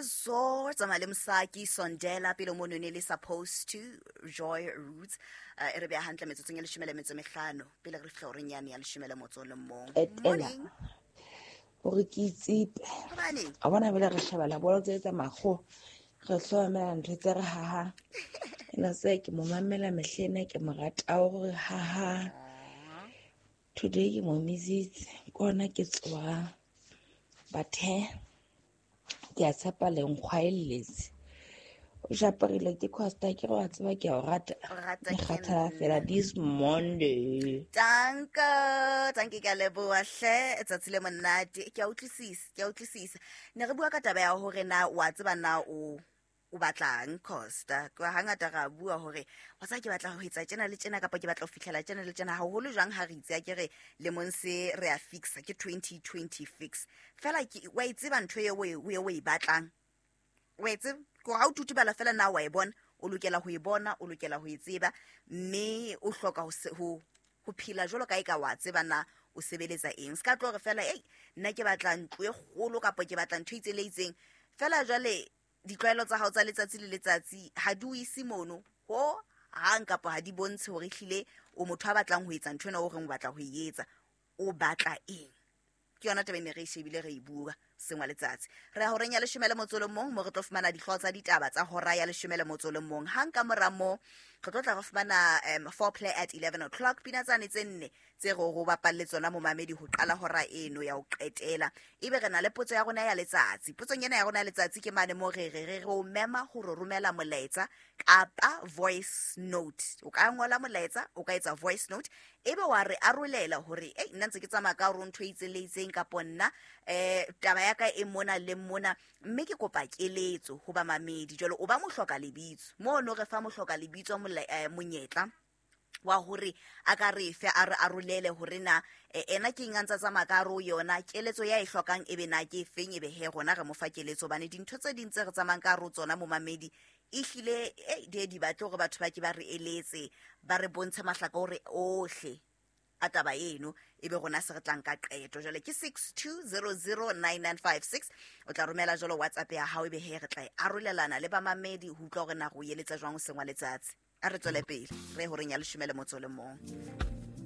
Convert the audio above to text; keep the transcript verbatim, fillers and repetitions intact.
So tsamaya le mosaki sondela pele mono ne le supposed to Joy Roots. Uh, e re beha hantle metsotsong e leshome le metso e mehlano pele re fihla horeng yane ya leshome le motso o le mong. Etela Morning. Hore ke itshepe. Hobaneng? A bona bele re shebella bolo tse tsa makgowa, re hlokomela ntho tse re hahang. Ena se ke mo mamela mehlena, ke mo rata hore haha. Today ke mo misitse, ke hona ke tsohang. But he, ke a tshepa le nkgwaelletse. O japarile ke Costa, ke re wa tseba ke a o rata. O rata Ke ke kgathala fela nna. this Monday. Danko, danke, ke a leboha hle, tsatsi le monate. Ke a utlwisisa, ke a utlwisisa. Ne re bua ka taba ya hore na wa tseba na o o batlang, Costa. Ka hangata ra bua hore wa tseba ke batla ho etsa tjena le tjena, kapa ke batla ho fihlela tjena le tjena, haholo jwang ha re itse a ke re lemong se re a fixa ke twenty twenty fix. Fela ke wa e tseba ntho eo o e, o e batlang. Wa e tseba ke hore ha o tutubala fela na wa e bona, o lokela ho e bona, o lokela ho e tseba, mme o hloka ho se, ho, ho phela jwalo ka e ka wa tseba na o sebeletsa eng. Se ka tlo re fela, ei, nna ke batla ntlo e kgolo kapa ke batla ntho e itseng le itseng. Fela jwale ditlwaelo tsa hao tsa letsatsi le letsatsi ha di o ise mono ho hang, kapa ha di bontshe hore ehlile o motho a batlang ho etsa ntho ena o reng o batla ho e etsa. O batla eng? Ke yona taba e ne re e shebile re e bua sengwa letsatsi. Re ya horeng ya leshome le motso o le mong mo re tlo fumana dihlooho tsa ditaba tsa hora ya leshome le motso o le mong. Hang ka mora moo re tlo tla re fumana, um, foreplay at eleven o'clock, pina tsane tse nne tse re ho bapalle tsona momamedi ho qala hora eno ya ho qetela. Ebe re na le potso ya rona ya letsatsi. Potsong ena ya rona ya letsatsi ke mane mo re re re re o mema hore romela molaetsa kapa voice note. O ka ngola molaetsa, o ka etsa voice note, ebe wa re arolela hore, ei, nna ntse ke tsamaya ka hore ntho e itseng le itseng, kapo nna, eh, taba ya ka e mona le mona, mme ke kopa keletso ho bamamedi. Jwale o ba mohloka lebitso mono, re fa mohloka lebitso mola-, eh, monyetla wa hore a ka re fe, a re arolele hore na, eh, ena ke eng a ntsa tsamaya ka hare ho yona, keletso ya e hlokang ebe na ke efeng, ebe he rona re mo fa keletso. Hobane dintho tse ding tse re tsamayang ka hare ho tsona momamedi, ehlile, eh, di ye di batle hore batho ba ke ba re eletse, ba re bontshe mahlakore ohle a taba eno, ebe rona se re tlang ka qeto. Jwale ke six two zero zero nine nine five six. O tla romela jwalo WhatsApp ya hao, ebe he re tla e arolelana le bamamedi ho utlwa hore na re o eletsa jwang hoseng wa letsatsi. A re tswele pele re ye horeng ya leshome le motso o le mong.